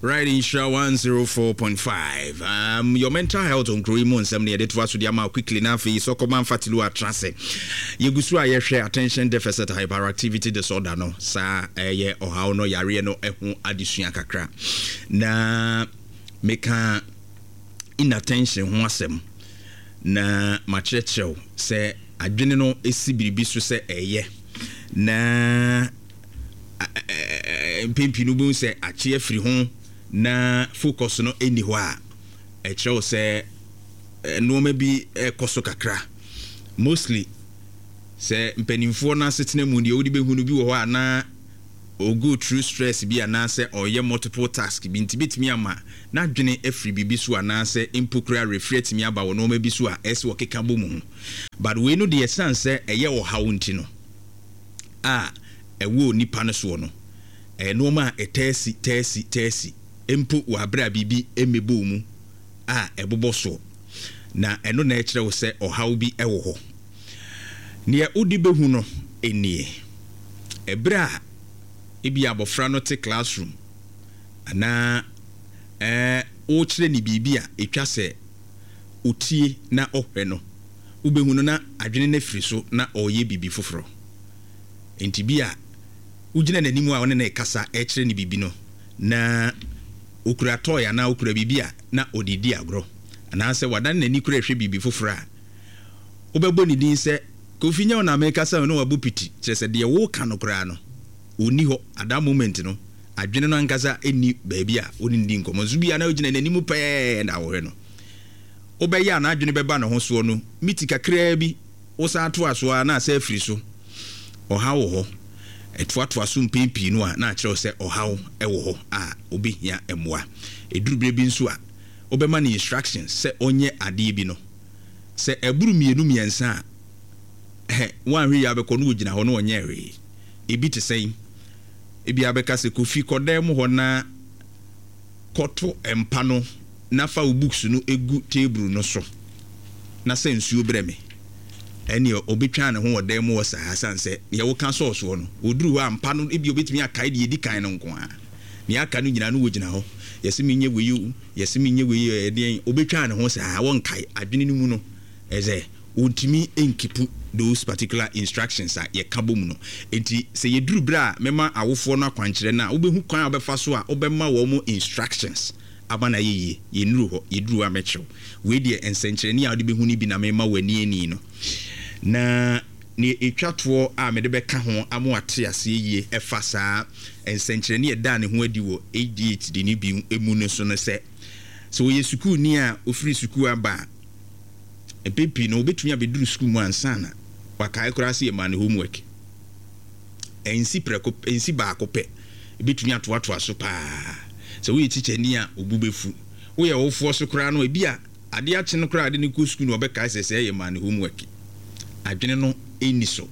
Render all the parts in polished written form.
Right, Nhyira 104.5. Your mental health on kuro yi mu nsɛm no yɛde toa so de ama quickly na afei sɔkɔma mfatilu atra ase. Yɛgu so a yɛhwɛ attention deficit hyperactivity disorder no saa ɛyɛ ɔhaw no yareɛ no ho adesua kakra. Na meka inattention ho asɛm na makyerɛkyerɛw sɛ adwene no si biribi so sɛ ɛyɛ na mpɛn pii no wobɛhu sɛ akye afiri ho na focus no nni hɔ a, ɛkyerɛ wo sɛ nneɛma bi ɛrekɔ so kakra. Mostly sɛ mpanimfoɔ no asetena mu deɛ wode bɛhu no bi wɔ hɔ a na o go through stress bi anaasɛ ɔyɛ multiple task bi nti bɛtumi ama n'adwene afiri biribi so anaasɛ mpo koraa refiri atumi aba wɔ nneɛma bi so a ɛsɛ ɔkeka bɔ mu ho. But wei no deɛ ɛsiane sɛ ɛyɛ ɔhaw nti no, a ɛwɔ onipa no soɔ no, ɛyɛ nnoɔma a ɛtaa si, taa si, taa si, mpo wɔ aberɛ a biribi mmɛbɔ wo mu a ɛbobɔ soɔ. Na ɛno na ɛkyerɛ wo sɛ ɔhaw bi wɔ hɔ. Deɛ wode bɛhu no nie, ɛberɛ a ebia abɔfra no te classroom anaa ɛɛ worekyerɛ no biribi a ɛtwa sɛ ɔtie na ɔhwɛ no, wobɛhu no na adwene no afiri so na ɔreyɛ biribi foforɔ. Enti bi a wogyina n'anim a wo ne no rekasa rekyerɛ no biribi no, na ɔkura toy anaa ɔkura biribi a na ɔde redi agorɔ, anaasɛ wadane n'ani koraa rehwɛ biribi foforɔ a, wobɛbɔ ne din sɛ, Kofi nyɛ wo na merekasa o, na wabɔ piti. Kyerɛ sɛ deɛ woreka no koraa no, ɔnni hɔ. At that moment no, adwene no ankasa nni baabi a wo ne no di nkɔmmɔ. Nso bi a na wogyina n'anim pɛɛ na wohwɛ no. Wobɛyɛ a n'adwene bɛba ne ho soɔ no, miti kakraa bi, wosan toa so ara na asɛ afiri so. Ɔhaw wɔ hɔ. Ɛtoatoa so mpɛn pii no a, na akyerɛ wo sɛ ɔhaw wɔ hɔ a ɔbɛhia mmoa. Ɛduru berɛ bi nso a, wobɛma no instructions sɛ ɔnyɛ adeɛ bi no, sɛ ɛboro mmienu mmiɛnsa a, ɛhɛ, woanhwɛ yie a wobɛkɔ na ɔgyina hɔ na ɔnyɛɛ hwee. Ebi te sɛn? Ebia wobɛka sɛ, Kofi, kɔ dan mu hɔ na kɔto mpa no na fa wo books no gu table no so na sa nsuo brɛ me. Ɛnneɛ ɔbɛtwa ne ho wɔ dan mu hɔ saa ɛsiane sɛ deɛ woka sɔɔ soɔ no, ɔduru hɔ a mpa no ebia ɔbɛtumi akae deɛ ɛdi kan no nko ara. Deɛ aka no nyinaa no wɔgyina hɔ, yɛse menyɛ wei o, yɛse menyɛ wei o, ɛdeɛn, ɔbɛtwa ne ho saa, wɔnkae. Adwene no mu no, ɛsɛ Ɔntumi nkipu those particular instructions a yɛka bɔ mu no. Enti sɛ yɛduru berɛ a mɛma awofoɔ no akwankyerɛ no a, wobɛhu kwan a wobɛfa so a wobɛma wɔn instructions ama no ayɛ yie. Yɛnnuru hɔ, yɛduru hɔ a mɛkyerɛ wo. Wei deɛ nsɛnkyerɛnne a wode bɛhu no bi na mema wo ani ani no. Na deɛ ɛtwa toɔ a mede bɛka ho ama woate aseɛ yie ɛfa saa nsɛnkyerɛnne a ɛdaa ne ho adi wɔ ADHD no bi mu no so ne sɛ, sɛ ɔyɛ sukuuni a ɔfiri sukuu aba a, Mpɛn pii no, obetumi abeduru sukuu mu ansa na wakae koraa sɛ yɛmaa no homework. Ɛnsi prɛko, ɛnsi baako pɛ. Ebetumi atoatoa so paa. Sɛ woyɛ tikyani a, wo bo befu. Woyɛ ɔwofoɔ so koraa no, ebia ade akye no koraa a ade no kɔ sukuu no, ɔbɛkae sɛ sɛɛ yɛmaa no homework. Adwene no nni so.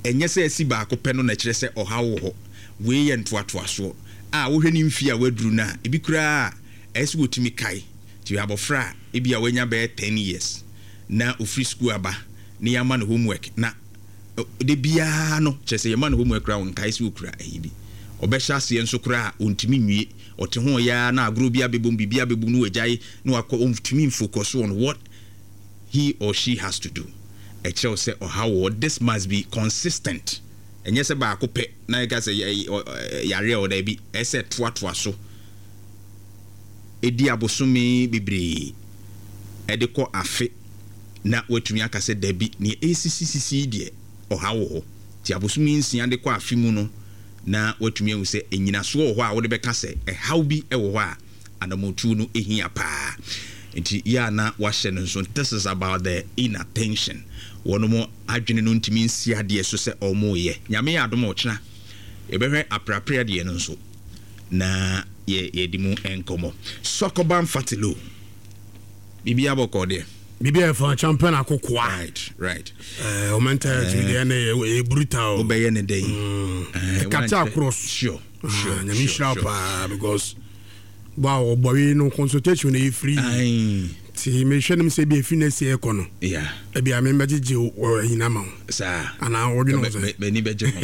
Ɛnyɛ sɛ asi baako pɛ no na ɛkyerɛ sɛ ɔhaw wɔ hɔ. Wei yɛ ntoatoasoɔ a wohwɛ ne mfie a waduru no a, ebi koraa a, ɛyɛ sɛ wɔtumi kae. Nti abɔfra a ebia wanya bɛyɛ ten years na ofiri sukuu aba na yɛama no homework na da biara no kyerɛ sɛ yɛma no homework koraa ɔnkae sɛ ɔkura ayi bi. Ɔbɛhyɛ aseɛ nso koraa a ɔntumi nwie. Ɔte ho ɔyɛ ara na agorɔ bi abɛbom, biribi abɛbom na wagyae na wakɔ, ɔntumi mfocus on what he or she has to do. Ɛkyerɛ wo sɛ ɔhaw wɔ hɔ. This must be consistent. Ɛnyɛ sɛ baako pɛ na yɛka sɛ yareɛ wɔ hɔ, daabi, ɛsɛ sɛ ɛtoatoa so. di abosome bebree de kɔ afe na watumi aka sɛ dabi, nea ɛresisisisi yi deɛ, ɔhaw wɔ hɔ. Nti abosome nsia de kɔ afe mu no, na watumi ahu sɛ nnyinasoɔ wɔ hɔ a wode bɛka sɛ ɛhaw bi wɔ hɔ a anammɔntuo no hia paa. Nti yɛ a na wahyɛ no nso, this is about the inattention. Wɔnom adwene no ntumi nsi adeɛ so sɛ wɔreyɛ. Nyame yɛ adom a ɔkyena yɛbɛhwɛ apreaprea deɛ no nso. na yɛ yɛdi mu nkɔmmɔ. Sɔkɔba Mfatilo, biribi abɔkɔ deɛ. Biribi a ɛfa champion akokoa. Right, right. Eh, o mental health bi deɛ ɛnɛ yɛ brutal. Wobɛyɛ ne dɛn? Mm. Eh, Ɛkata across. Sure, sure. Ah, nyame nhyira paa because wow, ɔbɔwe no consultation no yɛ free. Nti mehwɛ nom sɛ bi efi na esi ɛkɔ no. Yeah. Ebi a memmɛgyegye wɔ ɛnyina ma wo. Saa. Anaa wɔdwene ho sɛ. M'ani bɛgye ho.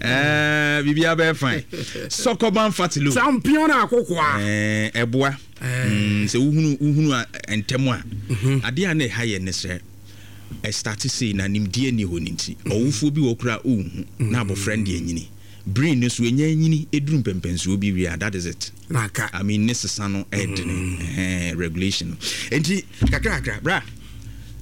Eh, biribiara bɛyɛ fine. Sɔkɔban Fatilu. Champion akokoa. Eh, ɛboa. Mm, sɛ wohunu wohunu ntɛm a. Mhm. Adeɛ a na ɛha yɛ ne sɛ ɛstarte sei na nimdeɛ nni hɔ no nti mhm. ɔwofoɔ bi wɔ koraa ɔnhu na abɔfra no deɛ anyini. Brain no so ɛnya nyini ɛduru mpɛmpɛnsoɔ bi wie a that is it. I mean ne sesa no ɛdene mm. ɛhɛn regulation no. Nti kakra kakra bra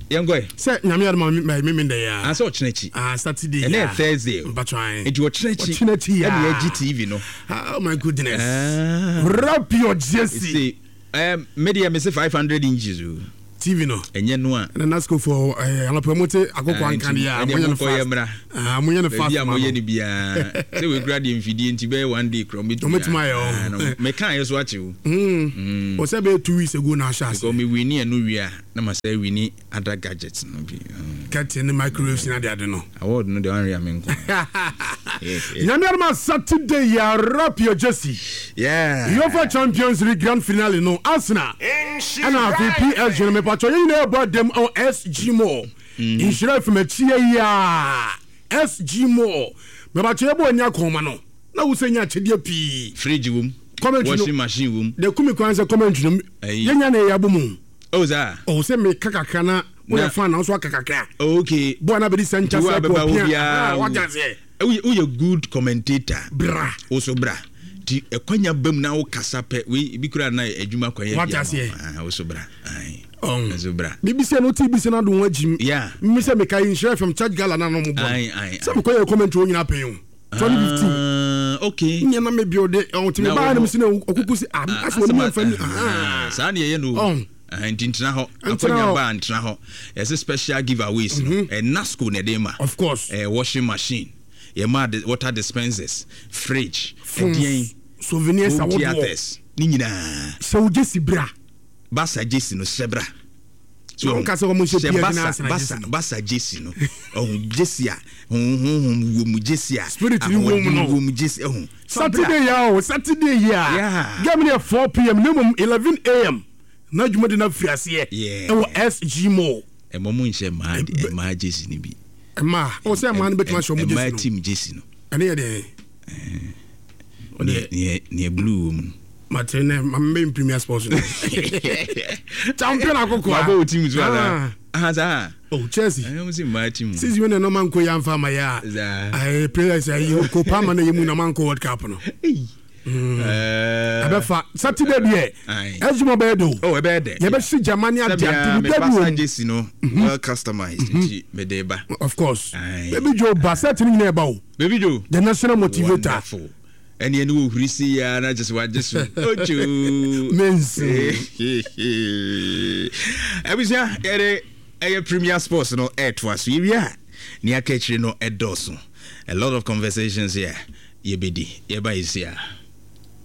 yɛnkɔ ɛ. Sɛ nyame adom a me me ndɛ ya. Ah sɛ ɔkyena akyi. Ah Saturday ya. Ɛnɛ yɛ Thursday. Mpatwa ayi. Nti ɔkyena akyi. Ɔkyena akyi ya. Ɛna yɛgye TV no. Oh my goodness. Ah. Wrap your jersey. See, me deɛ me se 500 inches o. TV no. Ɛnyɛ no a. Ɛna Nasco fo eh anɔpɛ mo te akoko ah, anka deɛ a mo yɛ no fast. Ah, mo yɛ no fast. Baabi a mo yɛ no biara. Sɛ we kura deɛ mfidie nti bɛyɛ one day kura mo betumi. Mo betumi ayɛ o. Me kan yɛ so akye o. Mm. O sɛ bɛyɛ 2 weeks ago na ahyɛ ase. Because me wini ɛno wie a na ma sɛ wini other gadgets no bi. Curtain ne microwaves ne ade ade no. Award no deɛ wanwe a me nko. Nyame adom a Saturday yɛ wrap your jersey. Yeah. UEFA Champions League Grand Finale no Arsenal ɛna afei PSG no mepatwɔ yɛn nyinaa ɛbɔ adam wɔ SG Mall. Nhyira fm akyi yɛ yi a SG Mall. Mepatwɔ yɛbɔ ani akɔnma no na wo sɛ nya akyɛdeɛ pii. Fridge wom. Commentary no. Washing machine wom. Deɛ kumi kwan sɛ commentary no yɛnya na ɛyɛ abɔ mu. Oh saa. Oh sɛ meka kakra na woyɛ fan na nso aka kakra. Oh okay. Boa na bɛdi sɛ nkyɛ sɛ kɔ pia. Wagya seɛ. Woyɛ good commentator. Bra. Wo so bra. Ti ɛkwanya bam na wo kasa pɛ wei ebi kura na adwuma kwan yɛ bi ama. Wo so bra. Ayi. So bra. Bibi sɛ no ti bi sɛ na do ho agyim. Yeah. Mi sɛ meka yi nhyira FM church gala na no mo bɔ. Ayi ayi. Sɛ mekɔ yɛ commentary wo nyina pɛn o. 2015. Ah, okay. Nyɛ na me build ɔn ti me ba na me si na okuku si ah asɛ wɔn mu nfa ni. Saa na yɛyɛ no. Ɔn. Nti ntena hɔ. Akwanya ba ntena hɔ. Yɛsɛ special giveaways no. Mm-hmm. Nasco na ɛde ma. Of course. Washing machine. Yɛ ma water dispensers, fridge, ɛdeɛn. Souvenirs home theaters. Ne nyinaa. Sɛ wo gyesi bra. Basa gyesi no hyɛ bra. So wɔn kasa wɔn nhyɛ pia gyina asena gyesi no. Basa gyesi no. Ɔho gyesi a honhom wɔ mu gyesi a. Spirit ni wɔ mu no. Wɔ mu gyesi ɛho. Saturday ya o Saturday ya. Game no yɛ 4 pm na mmom 11 am na dwumadi no afiri aseɛ ɛwɔ SG Mall. Ɛmɔ mo nhyɛ mmaa mmaa gyesi no bi. Mmaa o sɛ mmaa no bɛtumi ahyɛ wɔn gyesi no. Mmaa team gyesi no. Ɛne yɛ deɛ. Neɛ neɛ blue wɔ mu no. Mate nɛ ma mbɛ premier sports no. Champion akoko a. Mabɔ wo team so ana. Ah saa. Oh Chelsea. Ɛyɛ mo si mmaa team. Season wei na nɔɔma nko yɛ anfa ama yɛ a. Saa. Ɛɛ players ayi ko pa ama na yɛ mu na ma nko World Cup no. Ɛbɛfa Saturday deɛ. Ɛzuma bɛyɛ de o. Oh ɛbɛyɛ dɛ. Yɛbɛsi Germany ade ade bi bɛbi wɔm. Jesi no well customized nti mede ba. Of course. Baby Joe ba set no nyinaa ɛba o. Baby Joe. The national motivator. Wonderful. Ɛne ɛne wɔ huri si ya na kyesɛ wagye so. Ocho. Mensi. Abusua yɛde ɛyɛ Premier Sports no ɛɛtoa so. Yɛwie a nea aka akyire no ɛdɔɔso. A lot of conversations here yɛbɛdi. Yɛba yɛsi a.